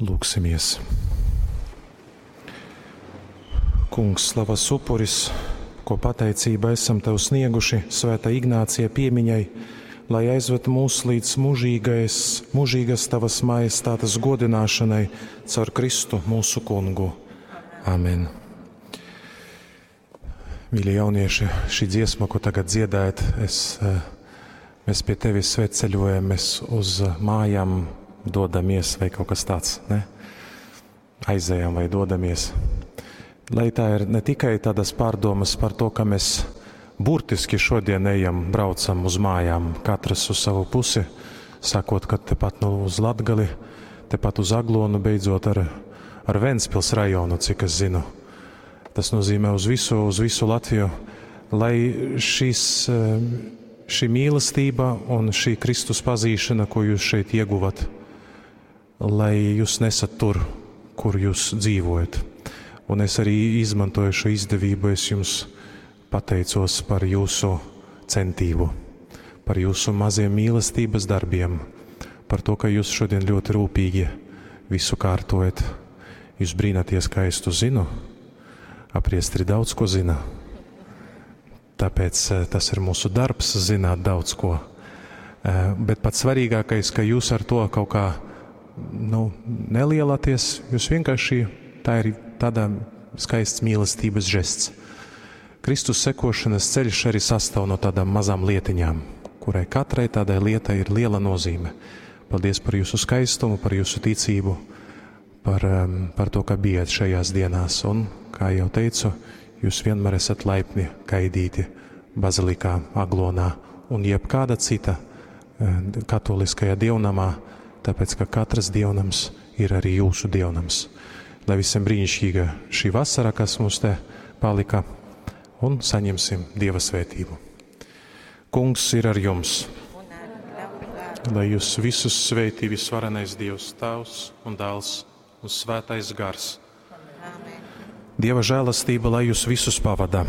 Lūksimies! Kungs, slavas upuris, ko pateicība esam Tev snieguši Svētā Ignācija piemiņai, lai aizved mūs līdz mūžīgais, mūžīgas Tavas majestātes godināšanai caur Kristu mūsu Kungu. Amen. Mīļie jaunieši, šī dziesma, ko tagad dziedājat, es, eh, mēs pie tevis svētceļojam, mēs uz mājām dodamies vai kaut kas tāds, ne? Aizejam vai dodamies. Lai tā ir ne tikai tādas pārdomas par to, ka mēs burtiski šodien ejam, braucam uz mājām, katrs uz savu pusi, sakot, ka tepat nu, uz Latgali, tepat uz Aglonu, beidzot ar, ar Ventspils rajonu, cik es zinu. Tas nozīmē uz visu, uz visu Latviju, lai šis, eh, šī mīlestība un šī Kristus pazīšana, ko jūs šeit ieguvat, lai jūs nesat tur, kur jūs dzīvojat. Un es arī izmantoju šo izdevību, es jums pateicos par jūsu centību, par jūsu maziem mīlestības darbiem, par to, ka jūs šodien ļoti rūpīgi visu kārtojat. Jūs brīnaties, kā es to zinu. Apriestri daudz ko zina. Tāpēc eh, tas ir mūsu darbs zināt daudz ko. Eh, bet pats svarīgākais, ka jūs ar to kaut kā nu, nelielāties, jūs vienkārši tā ir tāda skaists mīlestības žests. Kristus sekošanas ceļš arī sastāv no tādām mazām lietiņām, kurai katrai tādai lietai ir liela nozīme. Paldies par jūsu skaistumu, par jūsu ticību, par, par to, ka bijat šajās dienās. Un, kā jau teicu, jūs vienmēr esat laipni gaidīti bazilikā, Aglonā un jebkāda cita eh, katoliskajā dievnamā, tāpēc, ka katrs dievnams ir arī jūsu dievnams. Lai visiem brīnišķīga šī vasara, kas mums te palika, un saņemsim Dieva svētību. Kungs ir ar jums! Lai jūs visus svētī visvarenais Dievs, Tēvs un Dēls un Svētais Gars. Amen. Dieva žēlastība, lai jūs visus pavada.